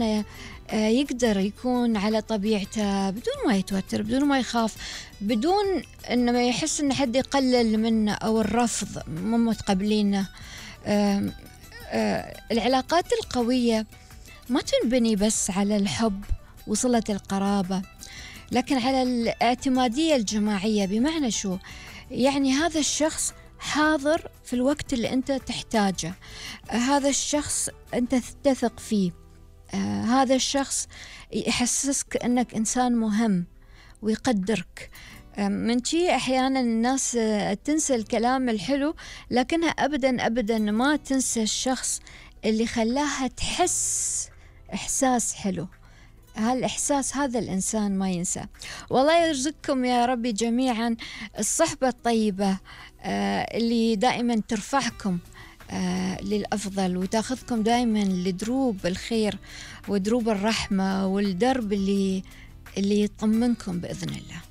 إنسان يقدر يكون على طبيعته بدون ما يتوتر، بدون ما يخاف، بدون إنه ما يحس إن حد يقلل منه أو الرفض مو متقبلينه. العلاقات القوية ما تنبني بس على الحب وصلة القرابة، لكن على الاعتمادية الجماعية. بمعنى شو؟ يعني هذا الشخص حاضر في الوقت اللي أنت تحتاجه، هذا الشخص أنت تثق فيه، هذا الشخص يحسسك أنك إنسان مهم ويقدرك. من شي أحيانا الناس تنسى الكلام الحلو، لكنها أبدا أبدا ما تنسى الشخص اللي خلاها تحس إحساس حلو. هالإحساس هذا الإنسان ما ينسى. والله يرزقكم يا ربي جميعا الصحبة الطيبة اللي دائما ترفعكم للأفضل وتاخذكم دائما لدروب الخير ودروب الرحمة والدرب اللي يطمنكم بإذن الله.